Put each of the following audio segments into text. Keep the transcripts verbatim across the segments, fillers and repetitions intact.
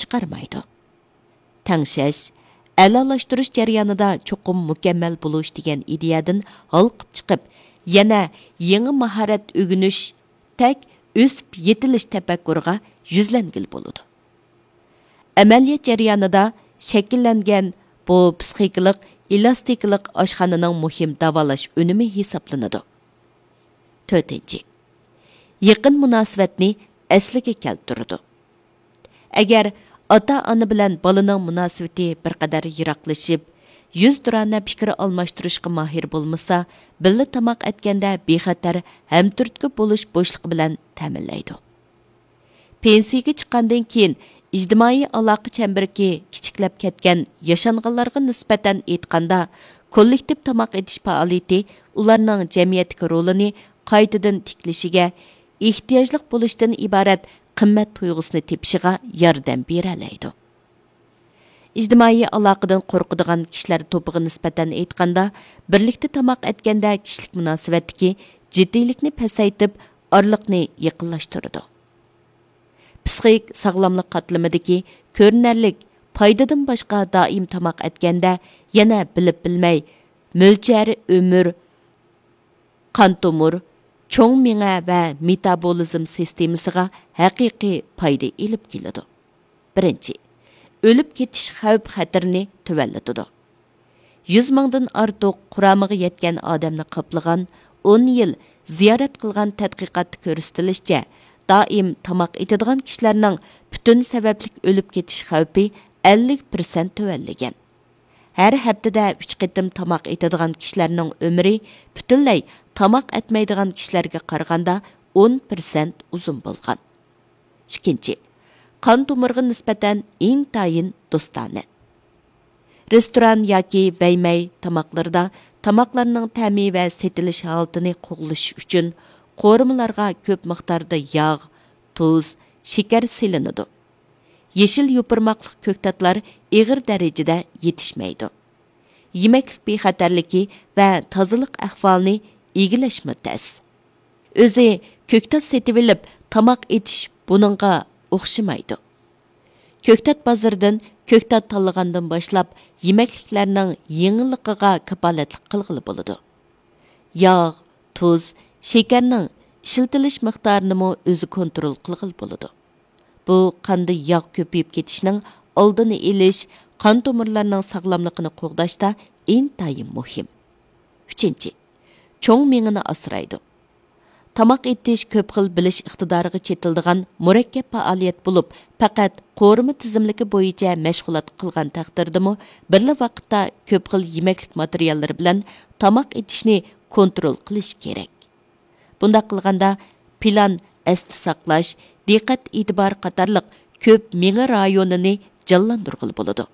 چىقارمايدۇ. تەڭشەش، ئەلالاشتۇرۇش جەريانىدا چوقۇم مۇكەممەل بولۇش دېگەن ئىدىيەدىن ھالقىپ چىقىپ، يەنە يېڭى ماھارەت ئۆگىنىش، تەك ئۆسۈپ يېتىلىش تەپەككۇرىغا يۈزلەنگىلى بولىدۇ. ئەمەلىيەت جەريانىدا شەكىللەنگەن بۇ پسىخىكىلىق ئېلاستىكىلىق ئاشخانىنىڭ مۇھىم داۋالاش ئۈنۈمى ھېسابلىنىدۇ. تۆتىنچى، يېقىن مۇناسىۋەتنى ئەسلىگە كەلتۈرىدۇ. ئەگەر ئاتا-ئانا بىلەن بالىنىڭ مۇناسىۋىتى بىر قەدەر يىراقلىشىپ، يۈزتۇرانە پىكىر ئالماشتۇرۇشقا ماھىر بولمىسا، بىللە تاماق ئەتكەندە بىخەتەر، ھەمتۈرتكە بولۇش بوشلۇقى بىلەن تەمىنلەيدۇ. پېنسىيىگە چىققاندىن كېيىن ئىجتىمائىي ئالاقە چەمبىرىكى كىچىكلەپ كەتكەن ياشانغانلارغا نىسبەتەن ئېيتقاندا، كوللېكتىپ تاماق ئېتىش پائالىيىتى ئۇلارنىڭ جەمئىيەتتىكى رولىنى قايتىدىن تىكلىشىگە، ئېھتىياجلىق بولۇشتىن ئىبارەت قىممەت تۇيغۇسىنى تېپىشىغا ياردەم بېرەلەيدۇ. ئىجتىمائىي ئالاقىدىن قورقىدىغان كىشىلەر توپىغا نىسبەتەن ئېيتقاندا، بىرلىكتە تاماق ئەتكەندە كىشىلىك مۇناسىۋەتتىكى جىددىيلىكنى پەسەيتىپ، ئارىلىقنى يېقىنلاشتۇرىدۇ. پسىخىك ساغلاملىق قاتلىمىدىكى كۆرۈنەرلىك پايدىدىن باشقا، دائىم تاماق ئەتكەندە يەنە بىلىپ بىلمەي مۆلچەر ئۆمۈر، قان تومۇر، چوڭ مېڭە ۋە مېتابولىزم سىستېمىسىغا ھەقىقىي پايدا ئېلىپ كېلىدۇ. بىرىنچى، ئۆلۈپ كېتىش خەۋپ خەتىرىنى تۆۋەنلىتىدۇ. يۈز مىڭدىن ئارتۇق قۇرامىغا يەتكەن ئادەمنى قاپلىغان، ئون يىل زىيارەت قىلغان تەتقىقاتتا كۆرسىتىلىشىچە، دائىم تاماق ئېتىدىغان كىشىلەرنىڭ پۈتۈن سەۋەبلىك ئۆلۈپ كېتىش خەۋپى ئەللىك پىرسەنت تۆۋەنلىگەن. ھەر ھەپتىدە ئۈچ قېتىم تاماق ئېتىدىغان كىشىلەرنىڭ ئۆمرى پۈتۈنلەي تاماق ئەتمەيدىغان كىشىلەرگە قارىغاندا ئون پىرسەنت ئۇزۇن بولغان. ئىككىنچى، قان تومۇرىغا نىسبەتەن ئىنتايىن دوستانە. رېستوران ياكى بەيمەي تاماقلىرىدا تاماقلارنىڭ تەمى ۋە سېتىلىش ھالىتىنى قوغلىشىش ئۈچۈن قورۇمىلارغا كۆپ مىقداردا ياغ، تۇز، شېكەر سېلىنىدۇ. يېشىل يوپۇرماقلىق كۆكتاتلار ئېغىر دەرىجىدە يېتىشمەيدۇ. يېمەكلىك بىخەتەرلىكى ۋە تازىلىق ئەھۋالىنى ئىگىلەشمۇ تەس. ئۆزى كۆكتات سېتىۋېلىپ تاماق ئېتىش بۇنىڭغا ئوخشىمايدۇ. كۆكتات بازىرىدىن كۆكتات تاللىغاندىن باشلاپ، يېمەكلىكلەرنىڭ يېڭىلىقىغا كاپالەتلىك قىلغىلى بولىدۇ. ياغ، تۇز، شېكەرنىڭ ئىشلىتىلىش مىقدارىنىمۇ ئۆزى كونترول قىلغىلى بولىدۇ. بۇ قاندا ياغ كۆپىيىپ كېتىشنىڭ ئالدىنى ئېلىش، قان تومۇرلارنىڭ ساغلاملىقىنى قوغداشتا ئىنتايىن مۇھىم. ئۈچىنچى، چوڭ مېڭىنى ئاسرايدۇ. تاماق ئېتىش كۆپ خىل بىلىش ئىقتىدارىغا چېتىلىدىغان مۇرەككەپ پائالىيەت بولۇپ، پەقەت قورۇما تىزىملىكى بويىچە مەشغۇلات قىلغان تەقدىردىمۇ، بىرلا ۋاقىتتا كۆپ خىل يېمەكلىك ماتېرىياللىرى بىلەن تاماق ئېتىشنى كونترول قىلىش كېرەك. بۇنداق قىلغاندا، پىلان، ئەستە ساقلاش، دىققەت ئېتىبار قاتارلىق كۆپ مېڭە رايونىنى جانلاندۇرغىلى بولىدۇ.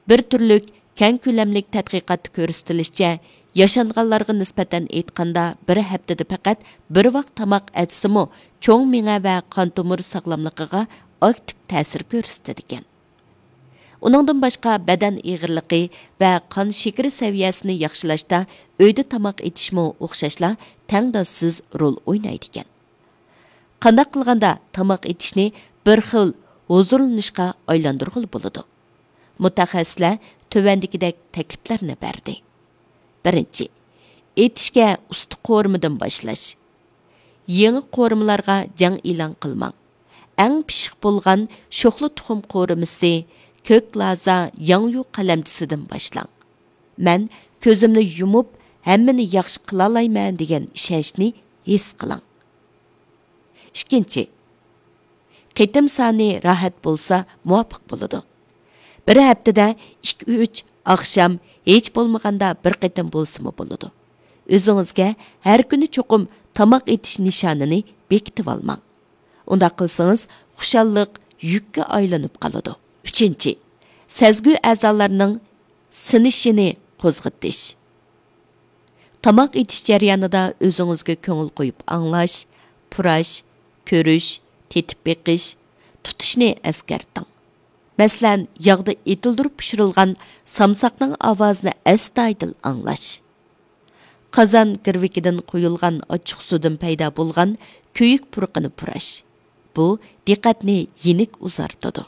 بىر تۈرلۈك كەڭ كۆلەملىك تەتقىقاتتا كۆرسىتىلىشىچە، ياشانغانلارغا نىسبەتەن ئېيتقاندا، بىر ھەپتىدە پەقەت بىر ۋاق تاماق ئەتسىمۇ، چوڭ مېڭە ۋە قان تومۇر ساغلاملىقىغا ئاكتىپ تەسىر كۆرسىتىدىكەن. ئۇنىڭدىن باشقا، بەدەن ئېغىرلىقى ۋە قان شېكىرى سەۋىيەسىنى ياخشىلاشتا ئۆيدە تاماق ئېتىشمۇ ئوخشاشلا تەڭداشسىز رول ئوينايدىكەن. قانداق قىلغاندا تاماق ئېتىشنى بىر خىل ھۇزۇرلىنىشقا ئايلاندۇرغىلى بولىدۇ؟ مۇتەخەسسىسلەر تۆۋەندىكىدەك تەكلىپلەرنى بەردى. بىرىنچى، ئېتىشكە ئۇستا قورۇمىدىن باشلاش. يېڭى قورۇمىلارغا جەڭ ئېلان قىلماڭ. ئەڭ پىششىق بولغان شوخلا تۇخۇم قورۇمىسى، كۆك لازا، ياڭيۇ قەلەمچىسىدىن باشلاڭ. مەن كۆزۈمنى يۇمۇپ، ھەممىنى ياخشى قىلالايمەن دېگەن ئىشەنچنى ھېس قىلىڭ. ئىككىنچى، قېتىم سانى راھەت بولسا مۇۋاپىق بولىدۇ. بىر ھەپتىدە ئىككى ئۈچ ئاخشام، ھېچ بولمىغاندا بىر قېتىم بولسىمۇ بولىدۇ. ئۆزىڭىزگە ھەر كۈنى چوقۇم تاماق ئېتىش نىشانىنى بېكىتىۋالماڭ. ئۇنداق قىلسىڭىز، خۇشاللىق يۈككە ئايلىنىپ قالىدۇ. ئۈچىنچى، سەزگۈ ئەزالارنىڭ سىنىشىنى قوزغىتىش. تاماق ئېتىش جەريانىدا ئۆزىڭىزگە كۆڭۈل قويۇپ ئاڭلاش، پۇراش، كۆرۈش، تېتىپ بېقىش، تۇتۇشنى ئەسكەرتىڭ. مەسىلەن، ياغدا ئېتىلدۈرۈپ پىشۇرۇلغان سامساقنىڭ ئاۋازىنى ئەستايىدىل ئاڭلاش. قازان گىرۋىكىدىن قۇيۇلغان ئاچچىقسۇدىن پەيدا بولغان كۆيۈك پۇرىقىنى پۇراش. بۇ دىققەتنى يېنىك ئۇزارتىدۇ.